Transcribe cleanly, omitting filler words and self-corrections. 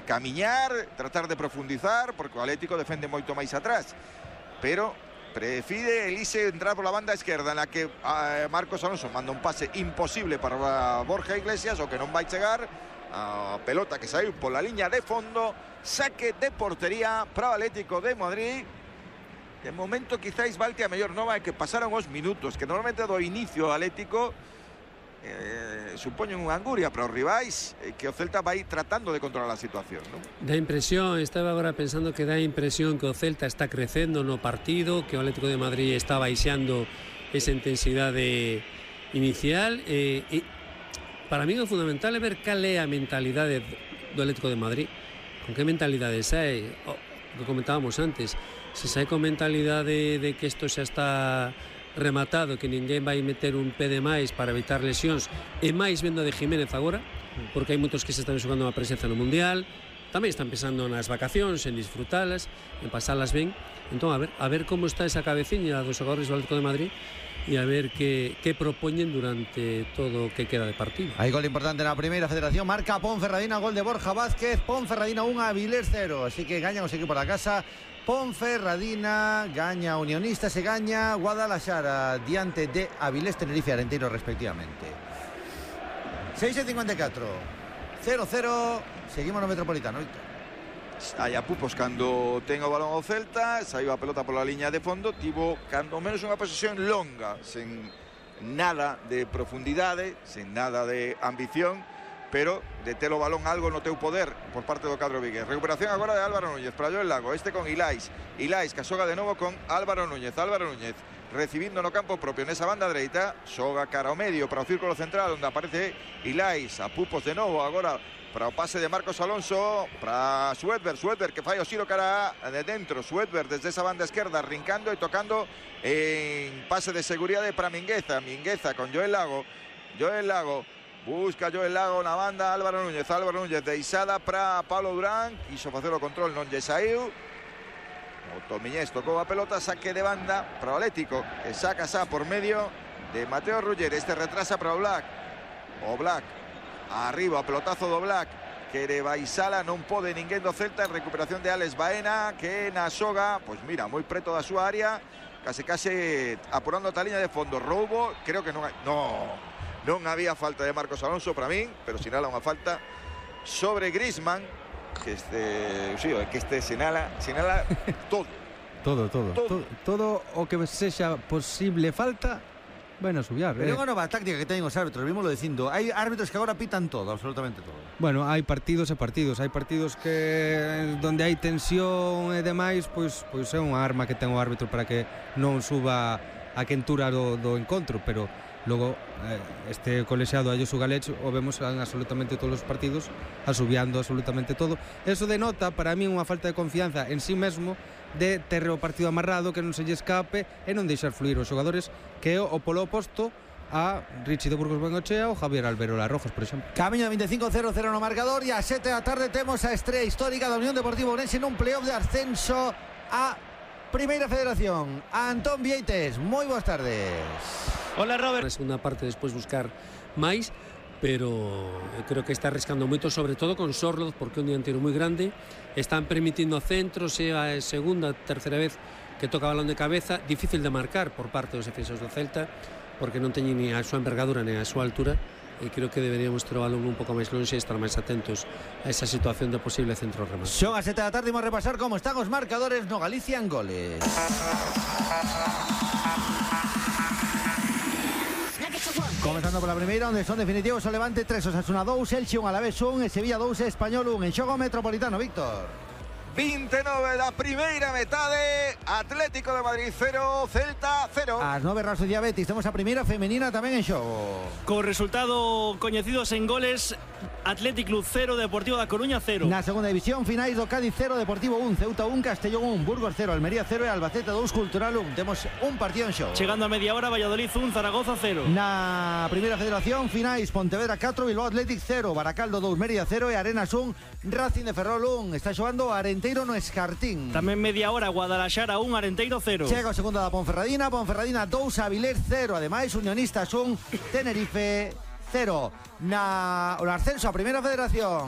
camiñar, tratar de profundizar, porque o Atlético defende moito máis atrás, pero prefire Elise entrar por la banda esquerda, en la que Marcos Alonso manda un pase imposible para Borja Iglesias, o que non vai chegar a pelota que saiu pola liña de fondo. Saque de portería para o Atlético de Madrid. De momento quizáis valte a mellor nova é que pasaron os minutos que normalmente do inicio Atlético supoñen unha anguria para os rivais, que o Celta vai tratando de controlar a situación, non? Da impresión, estaba agora pensando que dá impresión que o Celta está crecendo no partido, que o Atlético de Madrid está baixando esa intensidade inicial, e para mí o fundamental é ver cal é a mentalidade do Atlético de Madrid, con que mentalidade sai, o que comentábamos antes, se sai con mentalidade de que isto xa está rematado, que ninguén vai meter un pé de máis para evitar lesións, e máis vendo de Jiménez agora, porque hai moitos que se están xogando a presenza no Mundial, tamén están pensando nas vacacións, en disfrutalas, en pasalas ben. Entón, a ver como está esa cabeciña dos xogadores do Atlético de Madrid, e a ver que propoñen durante todo o que queda de partido. Hai gol importante na primeira federación, marca Ponferradina, gol de Borja Vázquez. Ponferradina 1, Avilés 0, así que gañan os equipos da casa. Ponferradina gaña Unionistas e gaña Guadalajara diante de Avilés, Tenerife e Arenteiro respectivamente. 6:54, 0-0, seguimos no Metropolitano, Víctor. Hai a Pupos cando ten o balón ao Celta, saiu a pelota pola liña de fondo, tivo cando menos unha posesión longa, sen nada de profundidade, sen nada de ambición, pero de ter o balón algo no teu poder por parte do cadro vigués. Recuperación agora de Álvaro Núñez para Joel Lago, este con Ilais que xoga de novo con Álvaro Núñez recibindo no campo propio nesa banda dereita, xoga cara ao medio para o círculo central onde aparece Ilais, a Pupos de novo agora para o pase de Marcos Alonso para Suedberg que fai o xiro cara de dentro. Suedberg desde esa banda esquerda rincando e tocando en pase de seguridade para Mingueza con Joel Lago busca Joel Lago na banda. Álvaro Núñez deixada para Pablo Durán, quiso facer o control, non lle saiu. O Tomiñés tocou a pelota, saque de banda para o Atlético, que saca xa por medio de Mateo Ruller. Este retrasa para o Black arriba, o pelotazo do Black, quere baixala, non pode ninguén do Celta. En recuperación de Alex Baena, que na xoga, pois mira, moi preto da súa área, case apurando a liña de fondo. Roubo, creo que non había falta de Marcos Alonso para min, pero sinala unha falta sobre Griezmann, que sinala todo o que sexa posible falta. Bueno, subiar. Pero é unha nova táctica que teñen os árbitros, vímoslo dicindo. Hai árbitros que agora pitan todo, absolutamente todo. Bueno, hai partidos e partidos. Hai partidos que donde hai tensión e demais, pois é unha arma que ten o árbitro para que non suba a quentura do encontro, pero logo este colexiado Ayosu Galech o vemos en absolutamente todos os partidos asubiando absolutamente todo. Eso denota para mí unha falta de confianza en sí mesmo, de ter o partido amarrado, que non se lle escape e non deixar fluir os xogadores, que é o polo oposto a Richie de Burgos Bengochea ou Javier Alberola Rojas, por exemplo. Camiño 25-0-0 no marcador, e a 7 da tarde temos a estrela histórica da Unión Deportiva Ourense nun playoff de ascenso a Primeira Federación. Antón Vieites, moi boas tardes. Hola, Robert. Na segunda parte despois buscar máis, pero creo que está arriscando moito, sobre todo con Sorloz, porque é un dianteiro moi grande. Están permitindo centros, é a segunda, terceira vez que toca balón de cabeza, difícil de marcar por parte dos defensores do Celta, porque non teñen ni a súa envergadura ni a súa altura, e creo que deberíamos ter o balón un pouco máis longe e estar máis atentos a esa situación de posible centro remate. Son as 7 da tarde, imos repasar como están os marcadores no Galicia en goles. Comenzando pola primeira, onde son definitivos o Levante 3, Osasuna 2, Elche 1, Alavés 1 e Sevilla 2, Español 1. En xogo Metropolitano, Víctor. 29 da primeira metade, Atlético de Madrid 0, Celta 0. As 9 Real Sociedad Betis, temos a primeira femenina tamén en xogo. Con resultado coñecidos en goles, Athletic Club 0, Deportivo da Coruña 0. Na segunda división, finais do Cádiz 0, Deportivo 1, Ceuta 1, Castellón 1, Burgos 0, Almería 0 e Albacete 2, Cultural 1. Temos un partido en xogo. Chegando a media hora, Valladolid 1, Zaragoza 0. Na primeira federación, finais Pontevedra 4, Bilbao Athletic 0, Baracaldo 2, Mérida 0 e Arenas 1, Racing de Ferrol 1. Está xogando Arenteiro no Escartín. Tamén media hora, Guadalajara 1, Arenteiro 0. Chega o segundo da Ponferradina 2, Avilés 0. Ademais, Unionistas 1, Tenerife 0. O ascenso a primeira federación,